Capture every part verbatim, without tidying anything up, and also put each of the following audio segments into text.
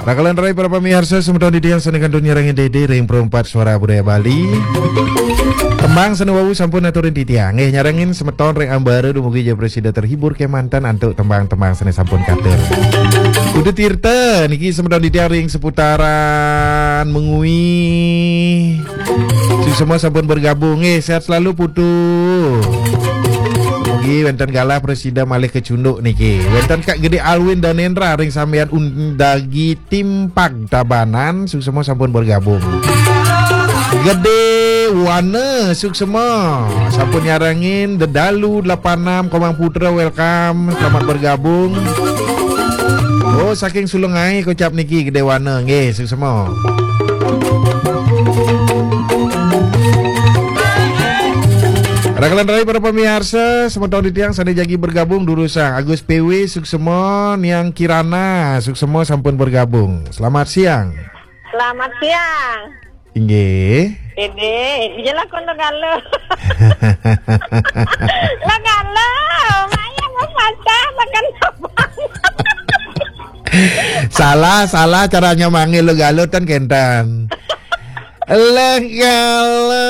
Rakalan rai para pamiarsa semeton titiang sané kantun nyarengin Dédé ring Perempat Suara Budaya Bali. Tembang sané wau sampun aturin titiang. Nggih, nyarengin semeton ring ambara dumugi ja prasida terhibur kémanten antuk tembang-tembang sané sampun katur. Putu Tirta niki semeton titiang ring seputaran Mengwi. Suksma sampun bergabung. Nggih, sehat selalu Putu. Mugi wénten galah prasida malih kacunduk niki. Wénten Kak Gedé Alwin Danendra ring sambian Undagi Timpag Tabanan, suksma sampun bergabung. Gedé Wana suksma sampun nyarengin. Dedalu delapan enam Komang Putra, welcome, selamat bergabung. Oh, saking Sulungai kocap niki Gedé Wana, nggih, suksma. Rakalan rai para pamiarsa, semeton titiang sané jagi bergabung durusang. Agus P W suksma, Niang Kirana suksma sampun bergabung. Selamat siang. Selamat siang. Inggih. Dédé, iya lakon Logalo. Logalo, maya mau patah makan apa? Salah, salah caranya manggil Logalo tan kénten. Logalo.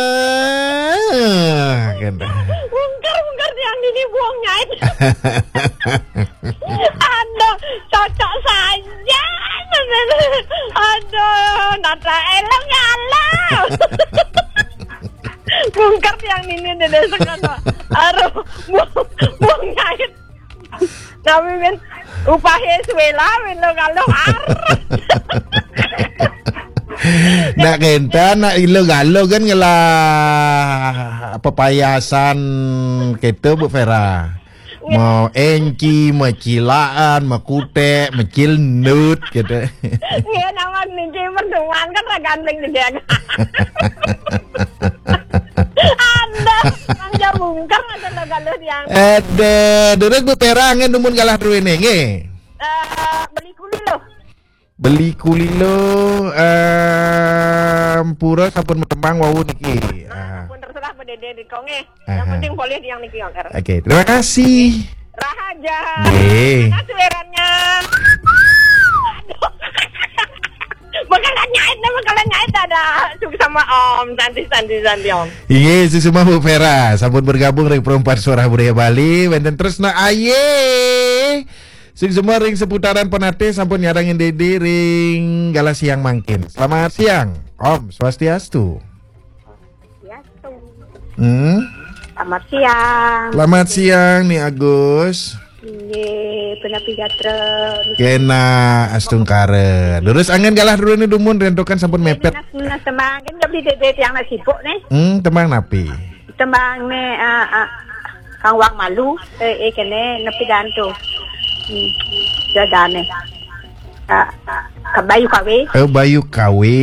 Kénten. Bungker, bungker tiang dini buang nyait. Aduh, cocok saja. Aduh, nata elok ya Allah. Bungker tiang ini Dédé sekolah. Aduh, bu- buang nyait. Tapi men upahé suwela men lo kalau arep. Nak kénten, nak Logalo kan ngelah pepayasan kéto, Bu Vera. Mau enci, mau cilaan, mau kutek, mau cilendut, gitu. Nggih, nama niki pertemuan kan ra gandeng gedé. Anda, Bang Jabungker, ada lo galuh yang. Ada, durus Bu Vera, nggih, dumun galah druene, nggih. Eh, beli kuli lo. Beli kuli lo, em, pura sampun matembang wau niki. Nah, ah, sampun terserah Pak Dede di konge. Yang aha, penting boleh yang niki, Oker. Oke, terima kasih. Rahaja. Nggih. Mana suaranya? Aduh. Bakalan nyait, nah, bakalan nyait ada. Suksma Om, santi, santi, santi Om. Inggih, suksma Bu Vera, sampun bergabung ring Perempat Suara Budaya Bali. Wenten Tresna Aye. Suksma ring seputaran Penatih sampun nyarengin Dede ring galah siang mangkin. Selamat siang, Om Swastiastu. Ya, tuh. Hmm? Selamat siang. Selamat siang, Ni Agus. Nggih, punapi gatra. Kena astungkara. Durus angen galah druene dumun, rentokan sampun mepet. Nah, nah, semakin lebih Dede tiang nak sibuk nih. Hmm, tembang napi? Tembang nih, ah, ah, Kang Wang Malu, eh, eh, kene nepi dantu. Hmm, dadane. Ah, ah, Bayu Kawe. Oh, Bayu Kawe.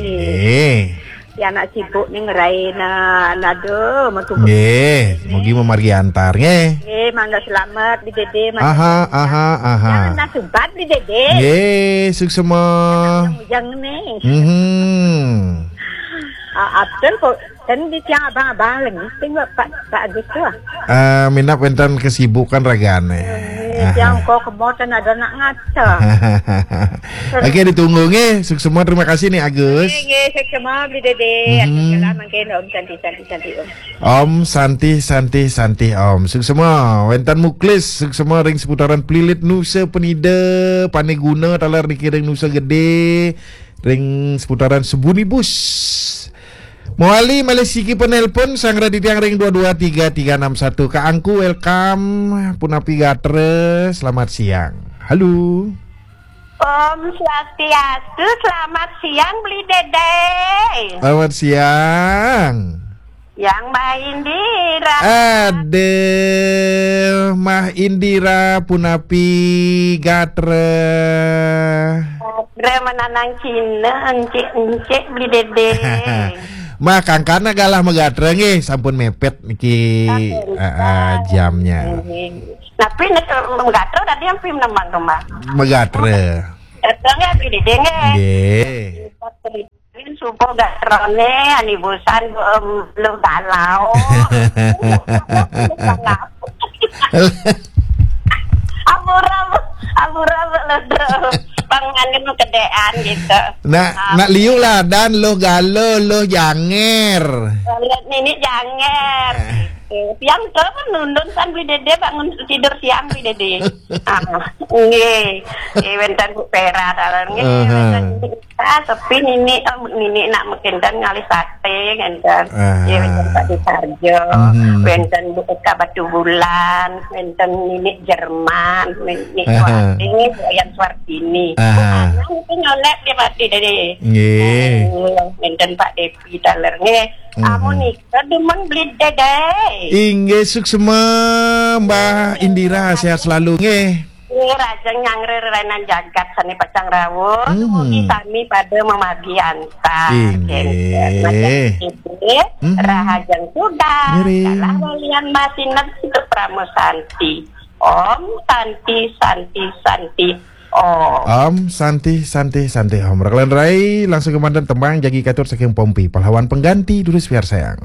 Iya. Eh. Ya, nak sibuk nih ngerain, ah, nado metu. Nggih, mugi memargi antar, nggih. Nggih, mangga selamat di Dede, mangga. Aha, selamat. Aha, aha. Jangan nak subat di Dede. Nggih, suksma. Yang nih. Mhm. Ah, Abdul kok dan di tiang abang-abang lagi, sing Pak, Pak Agus tuh. Eh, minap wenten kesibukan ragane. Eh, aha. Tiang kok kemoten ada nak ngaca. Oke, ditunggu nggih. Suksma, terima kasih nih Agus. Nggih, nggih, suksma beli Dede. Mhm. Atur jalan mangkin Om Santi, Santi, Santi Om. Om Santi, Santi, Santi Om. Suksma, wenten Muklis, suksma ring seputaran Plilit Nusa Penida, Paneguna, taler niki ring Nusa Gede, ring seputaran Sebunibus. Mawali malih siki penelpon, sanggra titiang ring dua dua tiga tiga enam satu. Kak Angku, welcome. Punapi gatra, selamat siang. Halo. Om Swastiastu, selamat siang, Beli Dede. Selamat siang. Yang Mbah Indira. Aduh, Mah Indira, punapi gatra. Gatra menanang Cina, encik-encik, Beli Dede. Mah, kangkana galah magatra nggih, sampun mepet niki, sampun, ah, ah, jamnya. Nggih. Tapi nek magatra tadi ampun nembang kembang. Magatra. Gatra nggih, Beli Dede nggih. Nggih. Subuh gatrane, ani bosan, em, lu galau. Ampura, ampura, lu, Bang Anu kedéan gitu. Nak nak liu lah dan loh galo loh janger. Lihat nini janger. Gitu. Tiang tuh kan nundun san beli dede bangun tidur siang beli dede. Ah, nggih. Eh, wénten Bu Pera dalan nggih. Aha. Wénten nini, ah, sepi nini, oh, nini nak mungkin dan ngalih sate ngénten. Ah. Ya wénten Pak Disarjo, Mhm. wénten Bu Eka Batu Bulan, wénten nini Jerman, nini Aha. Wati, Bu Yan Suartini. Aha. Anak itu nyolek dia mati dari. Nggih. Wénten Pak Devi daler nggih. Mhm. Amun nika demen beli dede. Inggih suksma Mbak Indira, sehat selalu nggih. Ini raja nyangre renan jagat sani pacang rawuh. Hmm. Mugi sami pada memagi antar. Inggih. Macam ini, Hmm. Rahajeng sudah. Ngiring. Kalah walian masinep untuk Pramo Santi. Om Santi Santi Santi Om. Om Santi Santi Santi Om. Rakalan rai langsung kemandan tembang jagi katur saking Pompi, pahlawan pengganti durus biar sayang.